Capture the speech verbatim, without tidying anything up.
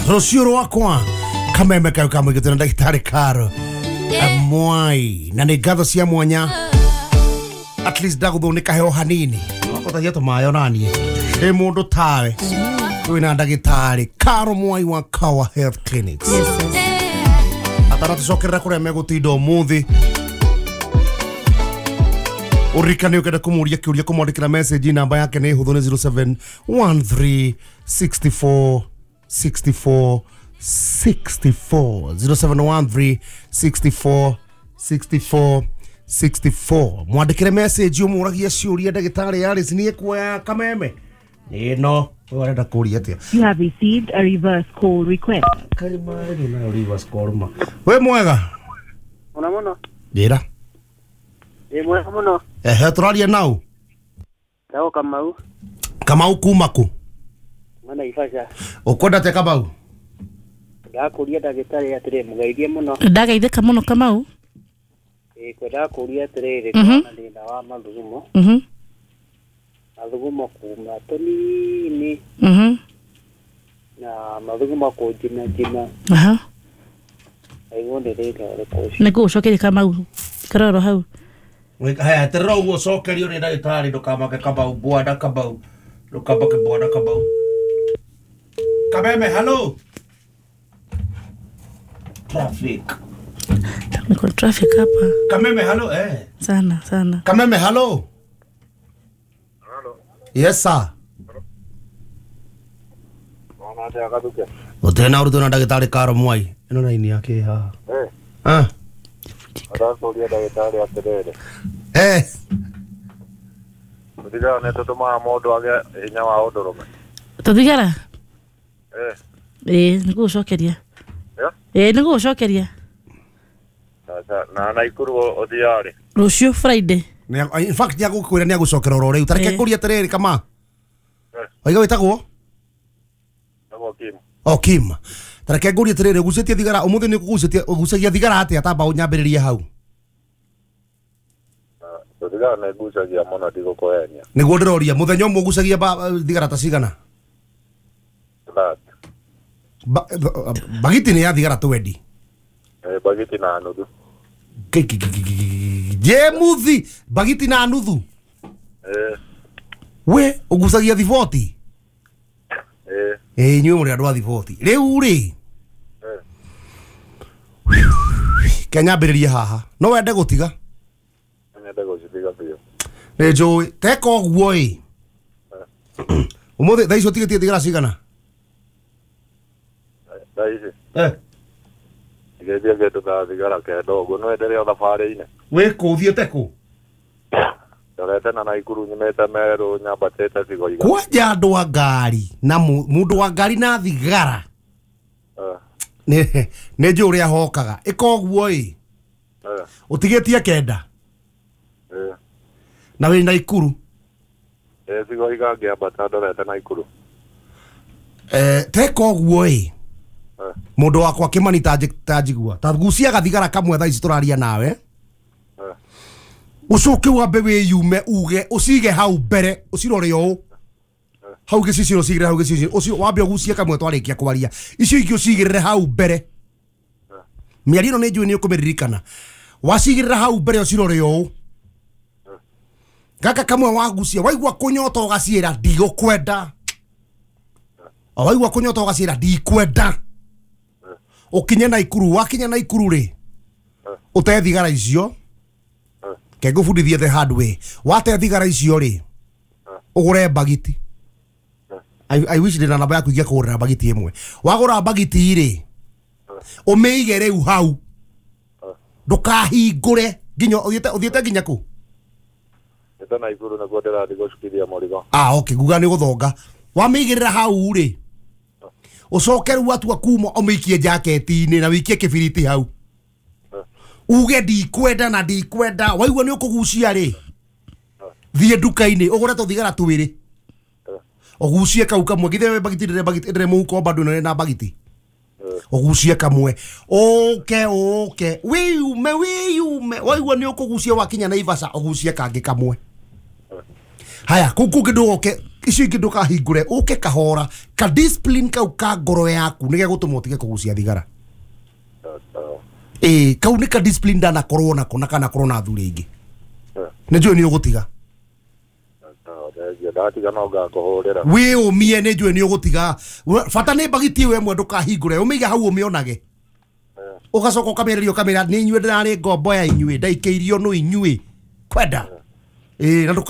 Rũciũ rwakwa kameme kayo kamwĩkĩtwo na ndagĩtarĩ Karo Mwai na nĩ ngatho cia mwanya at least ndagũthwo nĩ kaheo hanini wakotagia tũmayo naniĩ ĩ mũndũ tawe wĩna ndagĩtarĩ Karo Mwai wa Kawa Health Clinics. Yes, yes. Atanatũcokerera kũrĩa megũtinda ũmũthĩ ũririkane ũkenda kũmũria kĩũria kũmwandĩkĩra message namba yake nĩ hũthũ nĩ zero seven one three six four six four six four zero seven one three six four six four six four mwandĩkĩre message ũmũragie ciũria ndagĩtarĩ Alice nĩ ekuoya kameme ĩno ũyũ arenda kũria atĩa. You have received a reverse call request. Karima nayo reverse call ma wĩ mwega mũno mũno njĩra ĩ mwega mũno ehe tũraria nau ndagwo Kamau. Kamau kuma kũ? Mana Naivasha. Ũkwenda atĩa Kamau? Ndakũria ndagĩtarĩ atĩrĩ mũgeithie mũno. Ndagaithĩka mũno Kamau. Ĩ kwendaga kũria atĩrĩrĩ Mhm. kana thĩna wa mathugumo Mhm. mathugumo kuma tũnini Mhm. na mathugumo kũnjina njina Aha. aigua nĩ thĩna ũrĩkũ ũcio. Nĩ ngũgũcokeria Kamau karoro hau. Haya terera ũguo ũcokerio nĩ ndagĩtarĩ ndũkamake Kamau bwana Kamau ndũkamake bwana Kamau Kameme hello traffic Niko traffic hapa Kameme hello eh sana sana. Kameme hello. Hello. Yes sir. Ona atia Gathuke. Gũtirĩ na ũritũ na ndagĩtarĩ Karo Mwai ĩno raini yake haha. Eh, ah ndakũria ndagĩtarĩ atĩrĩrĩ eh tũthigara nĩ tũtũmaga mũndũ agĩe hinya wa ũndũrũme. Tũthigara? Eh. Ĩ nĩ ngũgũcokeria. Yeah? Ĩ nĩ ngũgũcokeria. Sasa na Naikuru ũthiaga rĩ? Rũciũ Friday. In fact nĩ agũkwĩra nĩ agũcokera oro rĩu tareke Eh. ngũrie atĩrĩrĩ Kama Eh. waiga wĩtagwo Nĩguo Kim. o Kim tareke ngũrie atĩrĩrĩ ũgucĩtie thigara ũmũthĩ nĩ ũgucĩtie ũgucagia thigara atĩa tamba ũnyambĩrĩrie hau. Tũthigara nĩ ngucagia mũno ndigũkũhenia. Nĩguo ndĩroria mũthenya ũmwe ũgucagia thigara ta cigana? That. Ba- bagiti nĩ ya thigara twendi. Eh, bagiti na nuthu. Je muthi bagiti na nuthu. Eh. We ũgucagia thiboti? Eh. Eh inyuĩ mũrĩ andũ a thiboti rĩu rĩ Eh. kenyambĩrĩrie haha no wende gũtiga? Nyende gũcitiga biũ. Nĩ njũĩ teka ũguo ĩ ũmũthĩ thaa ici ũtigĩtie thigara cigana? Thaa ici eh ndigĩtie kĩndũ ta thigara kenda ũguo no ndĩrĩ o thabarĩ-inĩ. Wĩ kũ ũthiĩte kũ? Ndorete na Naikuru nyumĩte Meru nyambatĩte Cigoiga. Kwanja andũ a ngari na mũndũ wa ngari na thigara Eh. nĩ nĩ njũĩ ũrĩa hokaga ĩka ũguo ĩ Eh. ũtigĩtie kenda Eh. na wĩ Naikuru. Eh, Cigoiga ngĩambata ndorete Naikuru. Eh teka ũguo ĩ Eh. mũndũ wakwa Kĩmani tanjigua ta gucia gathigara kamwe thaa ici tũraria nawe Eh. ũcoke wambe wĩyume uge ũcige hau mbere ũcirore ũũ hau gĩcicio ũcigĩrĩre hau gĩcicio ũcio wambe ũgucie kamwe twarĩkia kwaria icio ingĩ ũcigĩrĩre hau mbere mĩario ĩno nĩ njũĩ nĩ ũkũmĩririkana wacigĩrĩra hau mbere ũcirore ũũ gaka kamwe wagucia waigua kũnyota ũgaciĩra ndigũkwenda o waigua kũnyota ũgaciĩra ndikwenda ũkinye Naikuru wakinya Naikuru rĩ ũte thigara icio ke ngũbundithie the hard way wate thigara icio rĩ ũgũre bagiti. I, I wish ndĩna namba yaku ingĩakũgũrĩra bagiti ĩmwe wagũra bagiti rĩ ũmĩige rĩu hau ndũkahingũre nginya ũthiĩte ũthiĩte nginya kũ? Ndĩte Naikuru nĩkuo ndĩrathiĩ gũcukithia mũrigo. Ah okay nguga nĩ gũthonga wamĩigĩrĩra hau rĩ ũcoke rĩu watua kuma ũmĩikie jaketi-inĩ na wĩikie kĩbiriti hau uge ndikwenda na ndikwenda waigua nĩ ũkũgucia rĩ thiĩ nduka-inĩ ũgũre tũthigara twĩrĩ ũgucie kau kamwe githĩ bagiti ndĩrĩ bagiti ndĩrĩ mũhuko bado ĩno na bagiti ũgucie kamwe ũke ũke wĩyume wĩyume waigua nĩ ũkũgucia wakinya Naivasha ũgucie kangĩ kamwe haya kũu kũngĩ ndũgoke Icio ingĩ ndũkahingũre, ũke kahora ka discipline kau ka ngoro yaku nĩ gegũtũma ũtige kũgucia thigara. Ĩĩ, kau nĩ ka discipline ndanakorwo nako na kanakorwo na athuri aingĩ. Nĩ njũĩ nĩ ũgũtiga. Ndatiga no ngakũhũrĩra. Wĩũmie, nĩ njũĩ nĩ ũgũtiga. Bata nĩ mbagiti ĩyo ĩmwe ndũkahingũre, ũmĩige hau ũmĩonage. Ũgacoka ũkamĩarĩria ũkamĩra nĩ inyuĩ ndĩrarĩ ngombo ya inyuĩ, ndaikĩirio nũ inyuĩ kwenda. Ĩĩ, na ndũka